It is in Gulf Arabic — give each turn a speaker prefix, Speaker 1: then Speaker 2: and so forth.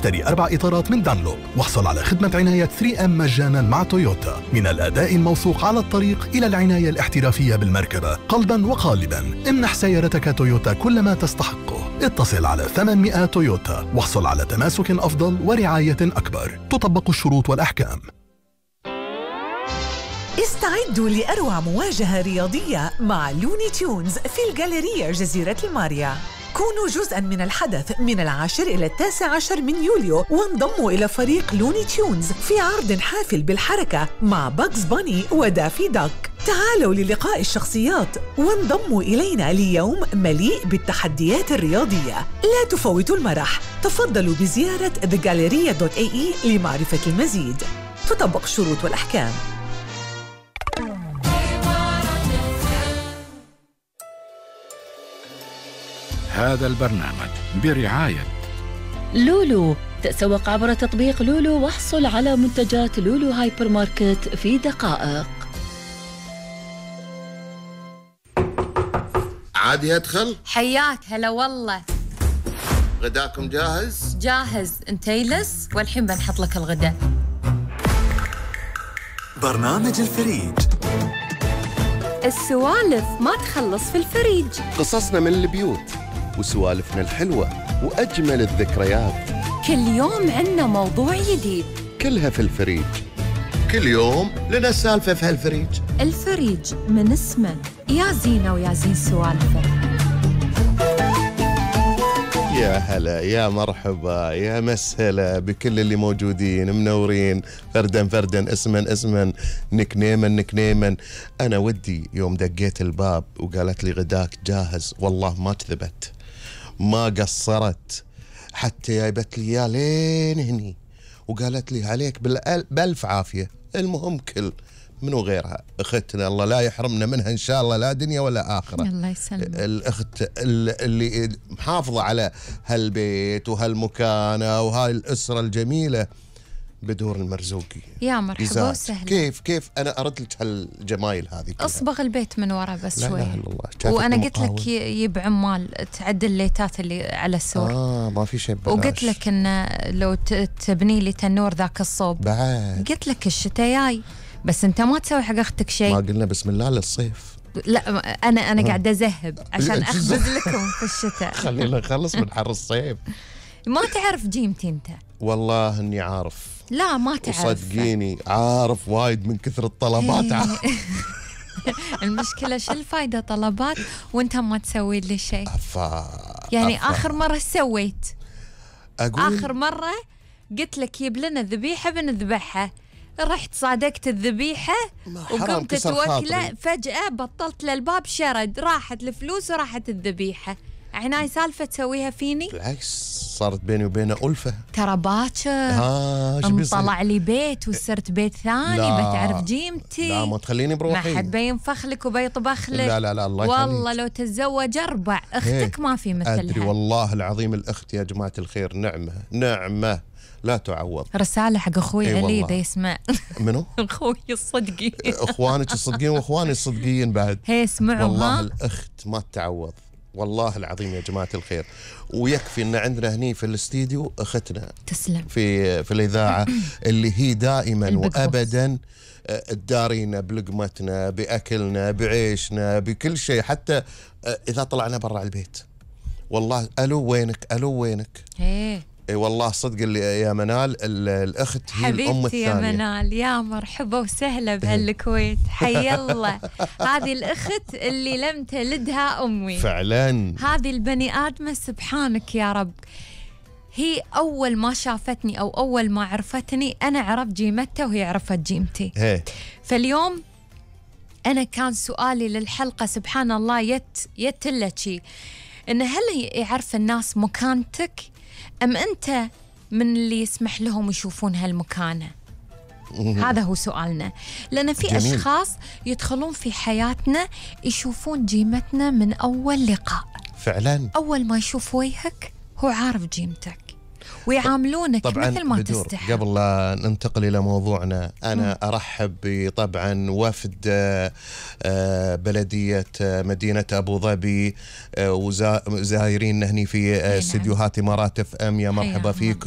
Speaker 1: اشتري 4 إطارات من دانلوب واحصل على خدمة عناية 3M مجانا مع تويوتا. من الأداء الموثوق على الطريق إلى العناية الاحترافية بالمركبة، قلبا وقالبا امنح سيارتك تويوتا كل ما تستحقه. اتصل على 800 تويوتا واحصل على تماسك أفضل ورعاية أكبر. تطبق الشروط والأحكام.
Speaker 2: استعدوا لأروع مواجهة رياضية مع لوني تيونز في الجاليرية جزيرة الماريا. كونوا جزءاً من الحدث من 10 إلى 19 من يوليو، وانضموا إلى فريق لوني تيونز في عرض حافل بالحركة مع باكس باني ودافي داك. تعالوا للقاء الشخصيات وانضموا إلينا ليوم مليء بالتحديات الرياضية. لا تفوتوا المرح. تفضلوا بزيارة thegalleria.ae لمعرفة المزيد. تطبق الشروط والأحكام.
Speaker 3: هذا البرنامج برعاية
Speaker 4: لولو. تسوق عبر تطبيق لولو واحصل على منتجات لولو هايبر ماركت في دقائق.
Speaker 5: عادي أدخل؟
Speaker 6: حياك هلا والله.
Speaker 5: غداكم جاهز؟
Speaker 6: جاهز. انت يلس والحين بنحط لك الغداء.
Speaker 7: برنامج الفريج.
Speaker 6: السوالف ما تخلص في الفريج.
Speaker 5: قصصنا من البيوت وسوالفنا الحلوة وأجمل الذكريات.
Speaker 6: كل يوم عنا موضوع جديد،
Speaker 5: كلها في الفريج. كل يوم لنا سالفة في هالفريج.
Speaker 6: الفريج من اسمه يا زينة ويا زين سوالفه.
Speaker 5: يا هلا يا مرحبا يا مسهلا بكل اللي موجودين منورين، فردا فردا اسما اسما نكنيما نكنيما. أنا ودي يوم دقيت الباب وقالت لي غداك جاهز، والله ما كذبت ما قصرت، حتى جايبت لي يا لين هني وقالت لي عليك بألف عافية. المهم كل منو غيرها اختنا، الله لا يحرمنا منها ان شاء الله، لا دنيا ولا اخره.
Speaker 6: الله يسلمك.
Speaker 5: الاخت اللي محافظه على هالبيت وهالمكانه وهاي الاسره الجميله بدور المرزوقي.
Speaker 6: يا مرحبا وسهلا.
Speaker 5: كيف انا اردت لك هالجمايل هذه كلها.
Speaker 6: اصبغ البيت من ورا بس
Speaker 5: لا
Speaker 6: شوي.
Speaker 5: لا الله.
Speaker 6: وانا قلت لك يب عمال تعدل الليتات اللي على السور.
Speaker 5: ما في شيء ببلاش.
Speaker 6: وقلت لك ان لو تبني لي تنور ذاك الصوب
Speaker 5: بعد.
Speaker 6: قلت لك الشتاء جاي، بس انت ما تسوي حق اختك شيء.
Speaker 5: ما قلنا بسم الله للصيف.
Speaker 6: لا انا قاعده اذهب عشان اخبز لكم في الشتاء.
Speaker 5: خلينا نخلص من حر الصيف.
Speaker 6: ما تعرف جيمتي انت؟
Speaker 5: والله اني عارف.
Speaker 6: لا ما تعرف.
Speaker 5: صدقيني عارف وايد من كثر الطلبات.
Speaker 6: المشكله شو الفايده طلبات وانت ما تسوي لي شيء. يعني اخر مره سويت؟ اخر مره قلت لك جيب لنا ذبيحه بنذبحها، رحت صادقت الذبيحه وقمت توكله، فجأة بطلت للباب شرد، راحت الفلوس وراحت الذبيحة. عناي سالفة تسويها فيني؟
Speaker 5: بالعكس صارت بيني وبينه ألفة.
Speaker 6: ترى باكر طلع لي بيت وصرت بيت ثاني. بتعرف جيمتي.
Speaker 5: لا ما تخليني بروحي.
Speaker 6: ما حد بينفخ لك وبيطبخ لك.
Speaker 5: لا الله يخليك.
Speaker 6: والله لو تتزوج 4 اختك ما في مثلها.
Speaker 5: أدري والله العظيم الأخت يا جماعة الخير نعمة لا تعوض.
Speaker 6: رسالة حق أخوي علي إذا يسمع.
Speaker 5: منو؟
Speaker 6: أخوي الصدقي.
Speaker 5: أخوانك الصدقين وأخواني الصدقين بعد.
Speaker 6: هي اسمعوا.
Speaker 5: والله الأخت ما تعوض والله العظيم يا جماعة الخير. ويكفي أن عندنا هني في الاستديو أختنا
Speaker 6: تسلم
Speaker 5: في الإذاعة اللي هي دائما وأبدا تدارينا بلقمتنا بأكلنا بعيشنا بكل شيء، حتى إذا طلعنا برا البيت والله ألو وينك. اي والله صدق اللي يا منال الاخت هي الام الثانيه.
Speaker 6: حبيبتي يا منال يا مرحبا وسهلا بهالكويت. حي الله. هذه الاخت اللي لم تلدها امي
Speaker 5: فعلا.
Speaker 6: هذه البني ادمه سبحانك يا رب. هي اول ما شافتني او اول ما عرفتني انا عرفت جيمتها وهي عرفت جيمتي. فاليوم انا كان سؤالي للحلقه سبحان الله يتلتشي ان هل يعرف الناس مكانتك أم أنت من اللي يسمح لهم يشوفون هالمكانة؟ هذا هو سؤالنا. لأن في جميل. أشخاص يدخلون في حياتنا يشوفون جيمتنا من أول لقاء.
Speaker 5: فعلا
Speaker 6: أول ما يشوف وجهك هو عارف جيمتك ويعاملونك مثل ما تستحق.
Speaker 5: قبل لا ننتقل إلى موضوعنا أنا أرحب طبعا وفد بلدية مدينة أبو ظبي وزائرين هني في استديوهات إمارات FM. يا مرحبا فيكم.